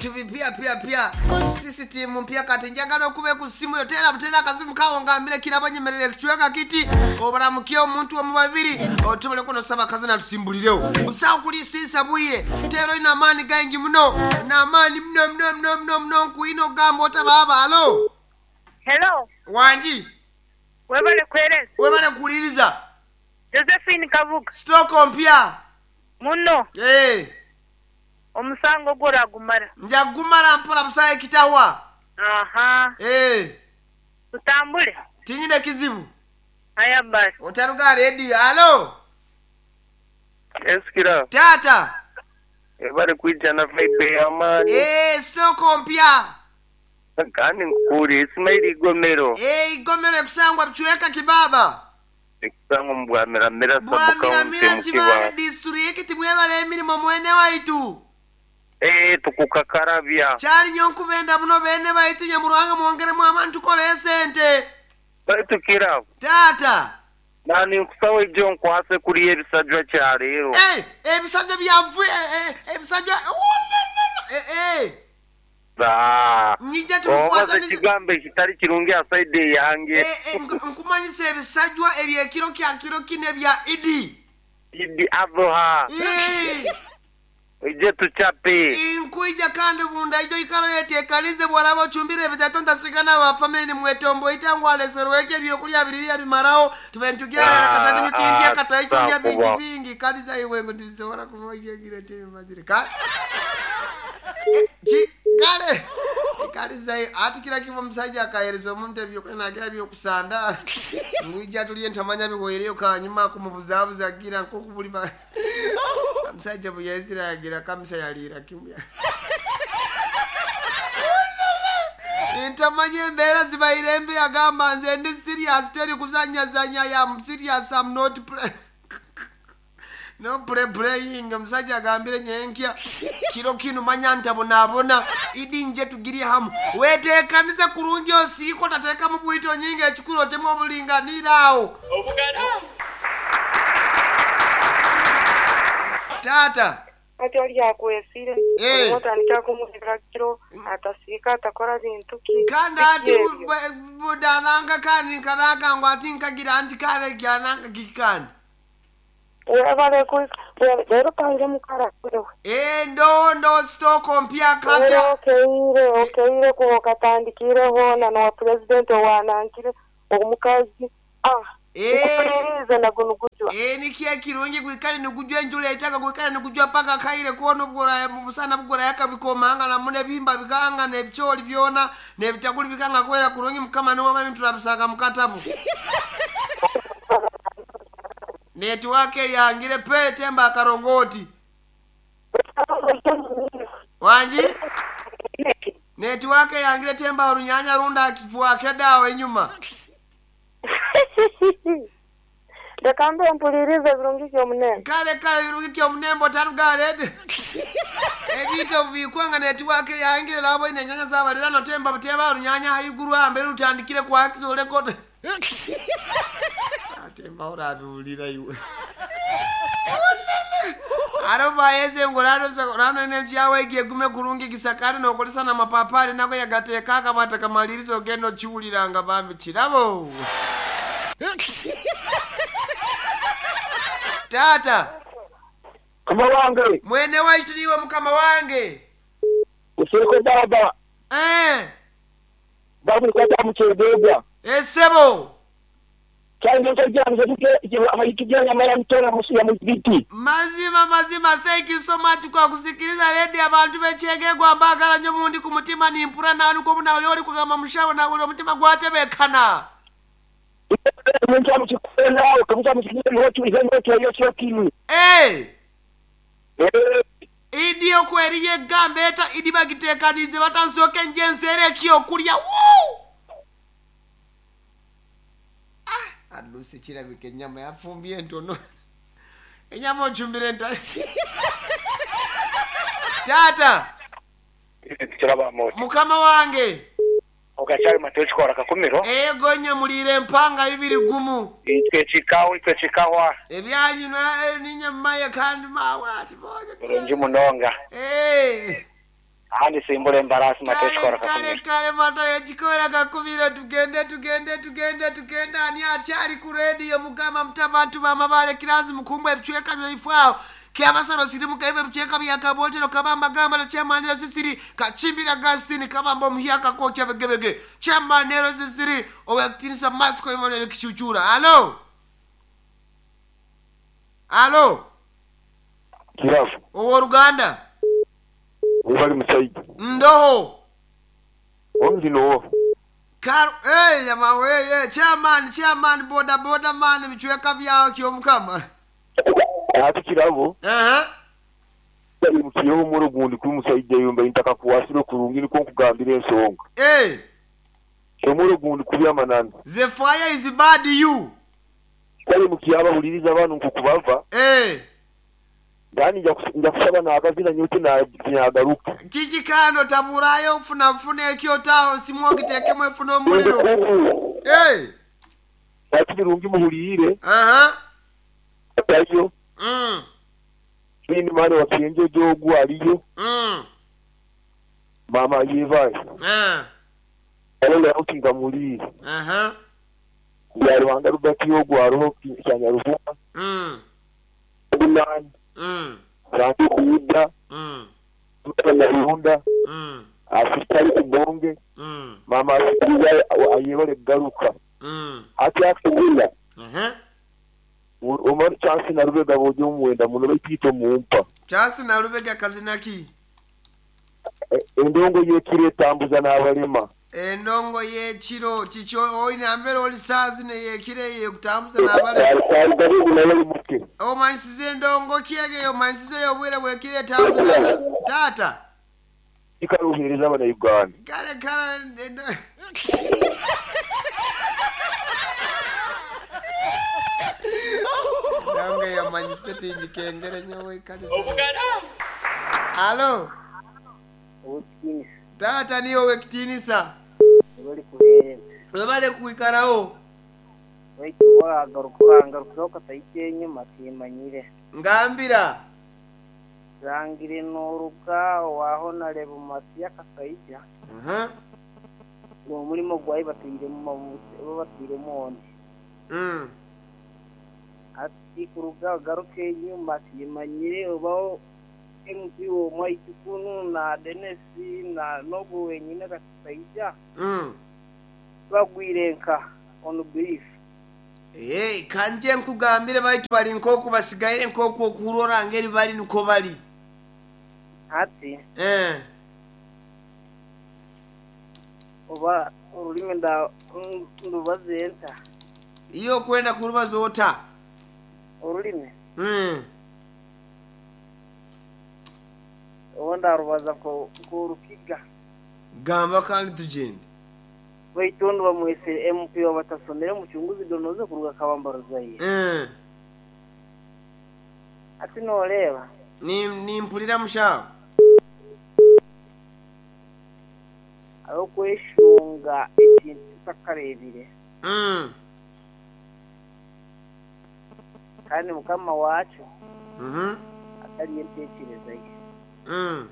Bintu bipya pya pya. Sisitiimu mpya kati njagala okube ku simu yo teera buteera akazimu kawo ngambire kirabo nyemerere ekicweka kiti oburamukye omuntu omu babiri otubole kuno saba kazina tusimbulirewo busawo kulisiisa bwire teera olina amaani gaingi muno n'amaani muno muno muno muno muno nkuina okugamba otabaaba alo Hello, wangi webale kwereza. webale kuwuliriza Josephine Kabuga. sitooko mpya Muno Eh, omusango gwo oragumara. nja kugumala mpola busawo ekitahwa Aha, Eh, tutambule. tinyine kizibu Haya basi. otaruga rediyo alo Esikira taata ebari kwija na vibe y'amaani Eh, sitooko mpya kandi nkukuri Ismail Igomero Eh, igomero ekusangwa bicweka kibaba ekusangwa mu Bwamiramira sub county bwamiramira mu kibale Kibaale. disitulikiti mwebale emirimo mwene waitu Eh tukukakarabya kyali nyo nkubenda muno bene baitu nyamurwanga mwongeremu amaani tukole esente baitu kirabo taata nani nkusawa ejo nkwase kuriya ebisajwa kya leero Eh, ebisajja byanvu eh, eh, ebisajja Wulala! Eh, eh, Ah, nyija obaza tubikwataniza ekigambo ekitali kirungi asaidi eyange Eh, eh, nkumanyisa ebisajwa ebyekiro kya kiro kino ebya idi idi adhuha Eh, ije tuchape nkwija kandi bunda ijo ikaro yetekanize bwalaba ochumbire ebitato ntasigana abafamili nimwetombo itangu aleserweke ebyokulya biriria bimaraho tubentugira Ah, katatu nitindya ah, kataitundya bingi sakuba. bingi kaliza iwengo ndisobora kuvaigire temazire kale Eh, kale kaliza ati kila kivo musajja akahereza omuntu ebyokulya nagira byokusanda ngwija tuliye ntamanya bihwereyo kanyuma kumubuzabuza agira nkokubuli omusajja bwe yaizira yagira kamisa yaliira kimya ntamanya embeera zibaire embi agamba nze ndi serious teri kuzanyazanya yam serious am not play no play playing omusajja agambire nyenkya kiro kino manya ntabonaabona idi nje tugirye hamu weteekanize kurungi osiiko tateekamu bwito nyingi ekikulu otemu obulinganira awo taata Ati oli akwesire Eh. olimwe otandika kumubira kiro atasiika atakora bintu ki kandi ati Biki ebyo? budananga kandi nkanaka ngu ati nkagira nti kale kyananga kiki kandi webale leero pange mukara wewe Eh, ndo ndo sitoko mpya Era kata okeire okeire kuba okatandikire hoona nowa pulezidenti owanangire omukazi ah Eh. nkukulirize nago nugujwa Eh, nikiye kirungi gwikale nigujwa enjula etaka gwikale nigujwa paka kaire kwona obugora mubusana bugora yakabikomanga namu nebihimba bikanga nebikyoli byona nebitakuli bikanga kwera kurungi mukama niwama ebintu turabisanga mukatabu netiwake yangire pe temba akarongoti wanji netiwake yangire temba orunyanya runda akifuake dawa enyuma leka mbe mpulirize birungi kyomunene kale kale birungi kyomunembo tarugarede ebintu bikwanga netiwake yangire labo ine enyanya zabalira notemba butemba orunyanya haiguru ambere rutandikire kwakiza oleko atemba orabiwulira iwe aro bayeze ngo ranonebyawe igiye gume kurungi gisakare nokolesa na mapapari nako yagateeka akabata kamaliriza ogenda okiwuliranga bambi kirabo taata Mukama wange mwene waitu niwe mukama wange usiiko baba eh, babukwata mukyegegwa esebo kyangekyange mutona musuya muzigiti mazima mazima thank you so much kwa kusikiliza redi abantu bekyegegwa mbagala nnyo mundi ku mutima nimpura nanuko buna oli oli kugamba mushawo nawuli omutima gwatebekana omuntu amukikunawe kamusa mukiiotuyotyokimu Eh, idi okweriyo egamba eta idi bagiteekanize batansooke nje enseera ekyokulya Wuu! Ah, adusi kirabika ennyama yafumbye entono enyama ocumbire nta taata kiraba moti mukama wange okakyali mate okikora kakumiro ego nnyo muliire empanga bibiri gumu itwe kikawa itwe kikawa ebyanyu ninye mumaye kandi mawe ati bonye bulungi munonga Eh, Ahandi simbura embaraasi mata Kale ekikora kale kakumiro. kale mata yekikora kakubiro tugende tugende tugende tugende ani akyali ku rediyo mugamba muta abantu bamabale kirazi mukumba ebicweka byaife awo kyabasaro sirimuka ebyo ebicweka byakabotero kabamba gamba nakyamanero sisiri kachimbira gasini kabamba omuhyaka kokya begebege kyamanero sisiri owekitinisa masiko imonere kichuchura alo alo Kirabo, owooluganda webali musajja. ndoho Omuzino wo. Kar hey, yama hey, hey, chairman chairman boda boda man ebicweka byawo kyomukama Ate kirabo, uh-huh. mukiyeho omuro gundi kuri musajja yumba intaka kuwasire kurungi niko nkugambira ensonga. hey, Omuro gundi kubi amananu. the fire is bad you Kale mukiyaba huliriza abantu nkukubava, hey. ndani nja kusaba nakazina nyote na nyagaruka. Kiki kano taburayo ofuna nfuna ekyotawo simu ogitekemu efuna omuliro hey. Ati birungi muhulire, uh-huh. atayo, mm. nini mwana wa kienjo jogu aliyo, Mm. mama yevaye. Alola ukinga mulire. Uh-huh. Ya Rwanda Rubati yogu aroho kyanyaruvuga. Mm. Bunani, Mm. Rangi Kuuda, Mm. Nyarunda, Mm. Afitari Kubonge, Mm. mama asikiza ayebale garuka. Mm. Ati akugula, Uh-huh. Omar Chance na Rubega bojo mwenda muno baitito mumpa. Chance na Rubega kazina ki Endongo yekire tambuza n'abalema. Endongo y'ekiro kikyo oyina mbeera oli saazi neyekiro eyo ekutambuza n'abalema Gabugu naye ali muke. omanyisiza endongo kyege omanyisiza eyo obwire bwekiro etambuza taata Ikaruhereza abana Uganda. kale kale endongo eyo omanyise tingikengere nyowe kanisa alo Obutinisa taata niyo owekitiinisa bari kuhereza webale kwikarawo baitu wagaruka urangarukireho katahika enyuma timanyire ngambira zangire noruga waho nareba mumasi y'akasaija Uh-huh. uwo murimo gwayi batiremo batiremo onde Mm. ati kuruga ugaruke enyuma timanyire obaho MP womwaitu kunu na Denesi na nogu wenyine kasaija Mm. bagwire nka on brief Hey, kanje nkugambire baitu bali nkoku basigaire nkoku okuhurora ngeri bali niko bali ati eh. oba orurimi nda ndubaze nta iyo okwenda kurubaza ota orurimi mm. oba ndarubaza nkorukiga gamba kandi tugende baitu ondi bamwese MP wabatasomere muchunguzi donoze kuruga kabambaruzaye mm. ati noreeba nimpulira mushaho arokweshunga ekintu tutakarebire mm. kandi mukama wacu mm -hmm. atari entekereza ye mm.